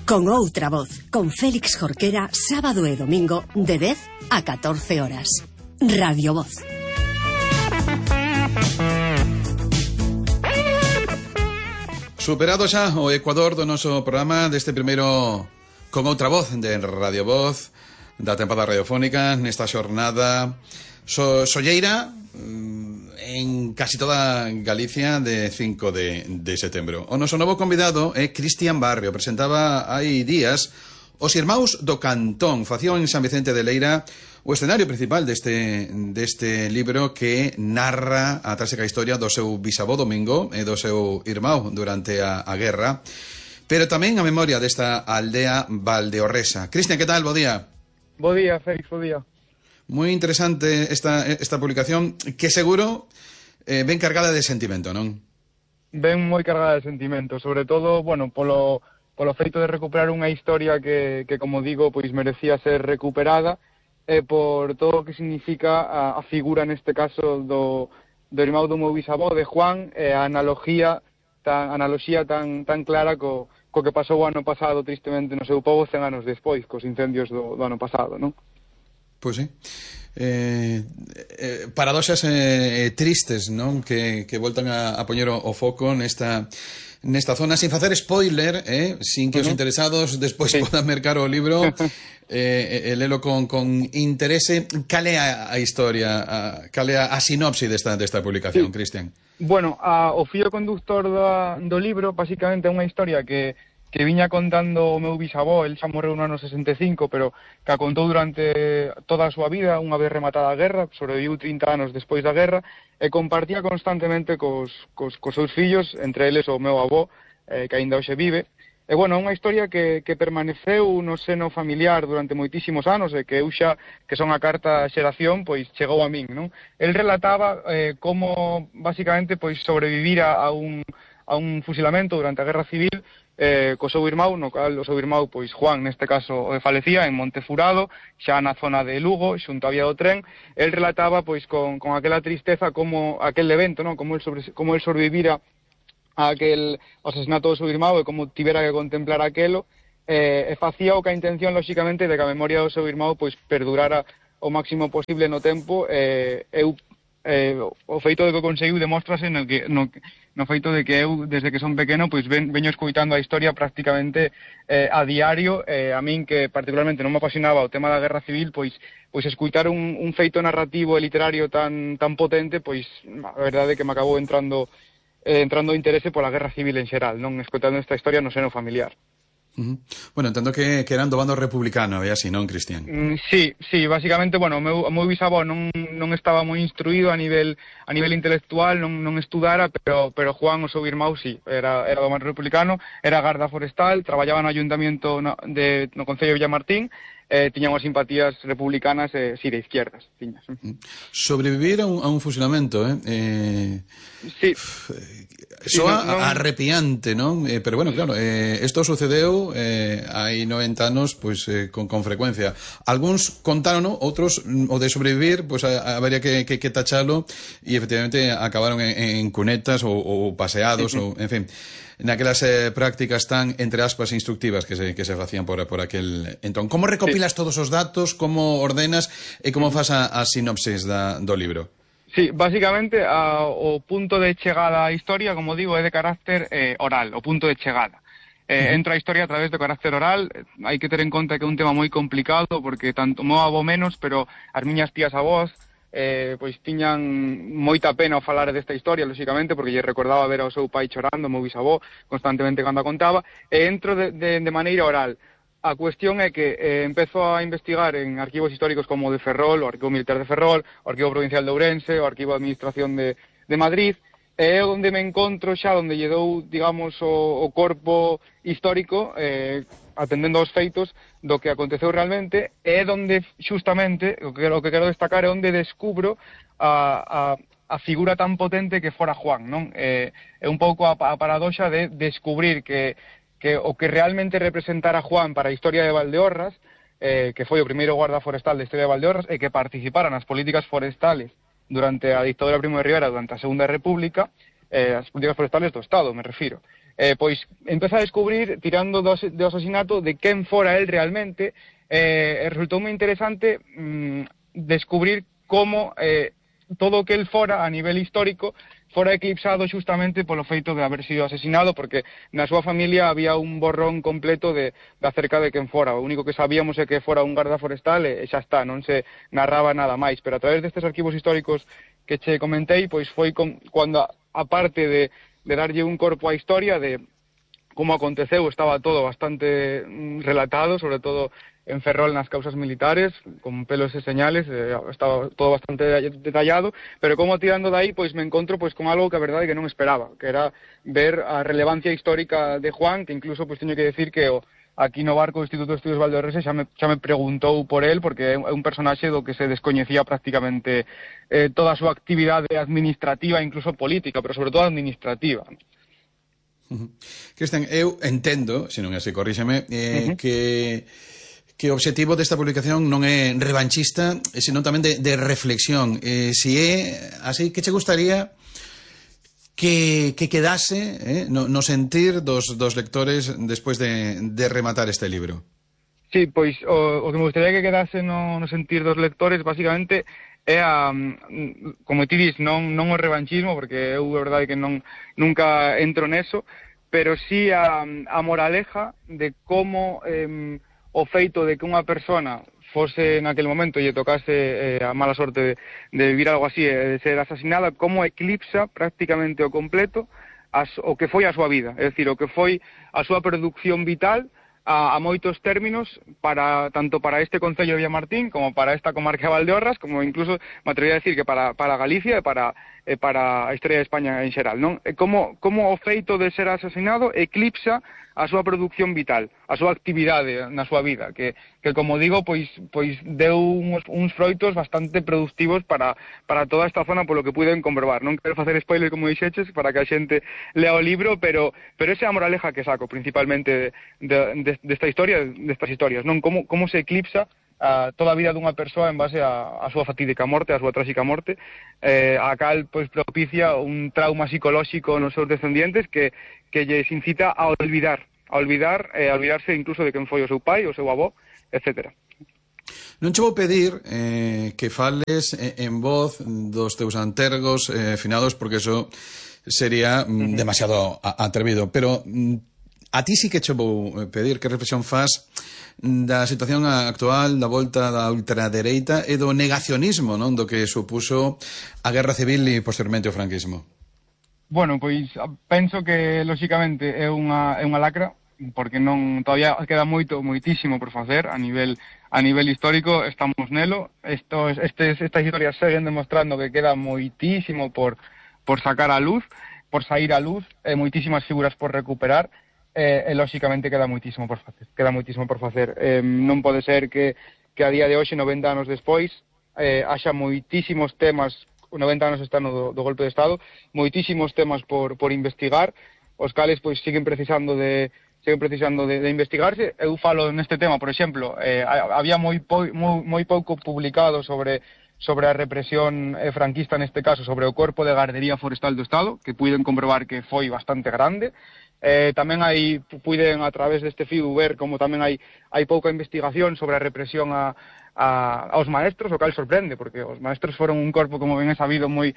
Con outra voz, con Félix Jorquera, sábado e domingo, de 10 a 14 horas. Radio Voz. Superado xa o Ecuador do noso programa deste primeiro Con outra voz de Radio Voz da tempada radiofónica nesta xornada solleira en casi toda Galicia de 5 de setembro. O noso novo convidado é Cristian Barrio. Presentaba hai días os Irmáns do Cantón. Facían en San Vicente de Leira o escenario principal deste libro que narra a tráxica historia do seu bisavó Domingo e do seu irmão durante a guerra, pero tamén a memoria desta aldea valdeorresa. Cristian, que tal? Bo día. Bo día, Félix, bo día. Moi interesante esta publicación, que seguro ben cargada de sentimento, non? Ben moi cargada de sentimento, sobre todo, bueno, polo feito de recuperar unha historia que como digo, pois merecía ser recuperada, e por todo o que significa a figura neste caso do irmão do meu bisavó, de Juan, e a analoxía tan clara co que pasou o ano pasado tristemente no seu pobo 100 anos despois, cos incendios do ano pasado, non? Pois sí. Paradoxas tristes, non? Que voltan a poñer o foco nesta zona, sin facer spoiler, sin que os interesados despois podan mercar o libro e lelo con interese. Cal é a historia, cal é a sinopse desta publicación, Cristian? Bueno, o fío conductor do libro basicamente é unha historia que viña contando o meu bisavó. El xa morreu no ano 65, pero que a contou durante toda a súa vida, unha vez rematada a guerra, sobreviviu 30 anos despois da guerra, e compartía constantemente cos seus fillos, entre eles o meu avó, que aínda hoxe vive. E, bueno, unha historia que permaneceu no seno familiar durante moitísimos anos, e que eu xa, que son a carta xeración, pois chegou a min, non? El relataba como, basicamente, pois sobrevivir a un fusilamento durante a Guerra Civil, co seu irmão, no cal o seu irmão, pois Juan, neste caso, falecía en Montefurado, xa na zona de Lugo, xunto a vía do tren. El relataba, pois, con aquela tristeza, como aquel evento, non? Como el sobrevivira a aquel asesinato do seu irmão e como tivera que contemplar aquelo, e facía o que a intención, lóxicamente, de que a memoria do seu irmão, pois, perdurara o máximo posible no tempo. O feito de que o conseguiu demóstrase no feito de que eu, desde que son pequeno, pois veño escoitando a historia prácticamente a diario. A min, que particularmente non me apasionaba o tema da Guerra Civil, pois escoitar un feito narrativo e literario tan potente, pois a verdade é que me acabou entrando interese pola Guerra Civil en xeral, non, escoitando esta historia no seno familiar. Bueno, entendo que eran do bando republicano, é así, non, Cristian? Sí, basicamente, bueno, o meu bisavó non estaba moi instruído a nivel intelectual, non estudara, pero Juan, o seu irmão, sí, era do bando republicano, era garda forestal, traballaba no ayuntamiento no Concello de Villamartín, tiña unhas simpatías republicanas, sí, de izquierdas, tiñas. Sobrevivir a un fusilamento, Sí. Soa arrepiante, non? Pero bueno, claro, isto sucedeu hai 90 anos, pois con frecuencia. Algúns contaron, outros o de sobrevivir, pois habería que tachalo, e efectivamente acabaron en cunetas ou paseados, ou en fin, naquelas prácticas tan, entre aspas, instructivas que se facían por aquel entón. Como recopilas todos os datos, como ordenas e como fas a sinopsis do libro? Sí, basicamente o punto de chegada á historia, como digo, é de carácter oral, o punto de chegada. Entra a historia a través do carácter oral. Hai que ter en conta que é un tema moi complicado, porque tanto o meu avó menos, pero as miñas tías avós pois tiñan moita pena ao falar desta historia, lóxicamente, porque lle recordaba ver ao seu pai chorando, o meu bisavó, constantemente cando a contaba, e entro de maneira oral. A cuestión é que empezo a investigar en arquivos históricos como o de Ferrol, o Arquivo Militar de Ferrol, o Arquivo Provincial de Ourense, o Arquivo de Administración de Madrid, e é onde me encontro xa, onde lle dou, digamos, o corpo histórico, atendendo aos feitos do que aconteceu realmente, e é onde, xustamente, o que quero destacar é onde descubro a figura tan potente que fora Juan, non? É un pouco a paradoxa de descubrir que o que realmente representara Juan para a historia de Valdeorras, que foi o primeiro guarda forestal da historia de Valdeorras, e que participara nas políticas forestales durante a dictadura Primo de Rivera, durante a Segunda República, as políticas forestales do Estado, me refiro. pois empeza a descubrir, tirando do asasinato, de quen fora el realmente, e resultou moi interesante descubrir como todo o que el fora a nivel histórico fora eclipsado xustamente polo feito de haber sido asesinado, porque na súa familia había un borrón completo de acerca de quen fora. O único que sabíamos é que fora un garda forestal e xa está, non se narraba nada máis. Pero a través destes arquivos históricos que che comentei, pois foi cando, aparte de darlle un corpo á historia, de como aconteceu, estaba todo bastante relatado, sobre todo en Ferrol nas causas militares, con pelos e señales, estaba todo bastante detallado, pero como tirando de aí, pois me encontro pois con algo que a verdade que non esperaba, que era ver a relevancia histórica de Juan, que incluso pois teño que decir que aquí no barco do Instituto de Estudios Valdeorrese xa me preguntou por él, porque é un personaxe do que se descoñecía prácticamente toda a súa actividade administrativa, incluso política, pero sobre todo administrativa. Cristian, eu entendo, se non é así, corríxeme, que o obxectivo desta publicación non é revanchista, senón tamén de reflexión. Se é así, que che gustaría que quedase no sentir dos lectores despois de rematar este libro? Sí, pois o que me gustaría que quedase no sentir dos lectores, basicamente, é como ti dis, non o revanchismo, porque eu a verdade que nunca entro neso, pero sí a moraleja de como o feito de que unha persona fose naquele momento e lle tocase a mala sorte de vivir algo así, de ser asesinada, como eclipsa prácticamente o completo o que foi a súa vida, é dicir, o que foi a súa produción vital a moitos términos, tanto para este Concello de Villamartín como para esta comarca de Valdeorras, como incluso me atrevería a decir que para Galicia e para a historia de España en xeral, non? Como o feito de ser asesinado eclipsa a súa produción vital, a súa actividade na súa vida, que como digo, pois deu uns froitos bastante productivos para toda esta zona, polo que puiden comprobar. Non quero facer spoiler, como dixeches, para que a xente lea o libro, pero esa é a moraleja que saco, principalmente destas historias, non? Como se eclipsa toda a vida dunha persoa en base a súa fatídica morte, a súa tráxica morte, a cal pois propicia un trauma psicolóxico nos seus descendientes que lles incita a olvidarse incluso de quen foi o seu pai, o seu avó, etc. Non che vou pedir que fales en voz dos teus antergos finados, porque eso sería demasiado atrevido, pero a ti sí que che vou pedir que reflexión fas da situación actual, da volta da ultradereita e do negacionismo, non, do que supuso a Guerra Civil e posteriormente o franquismo. Bueno, pois penso que lóxicamente é unha lacra, porque todavía queda moitísimo por facer a nivel histórico, estamos nelo. Estas historias seguen demostrando que queda moitísimo por sacar a luz, por sair a luz, moitísimas figuras por recuperar. Lóxicamente queda moitísimo por facer. Non pode ser que a día de hoxe, 90 anos despois, haxa moitísimos temas, 90 anos está no do golpe de Estado, moitísimos temas por investigar, os cales pois siguen precisando de investigarse. Eu falo neste tema, por exemplo, había moi pouco publicado sobre a represión franquista, neste caso, sobre o Corpo de Gardería Forestal do Estado, que puiden comprobar que foi bastante grande. Tamén puiden, a través deste fío, ver como tamén hai pouca investigación sobre a represión aos maestros, o cal sorprende, porque os maestros foron un corpo, como ben é sabido, moi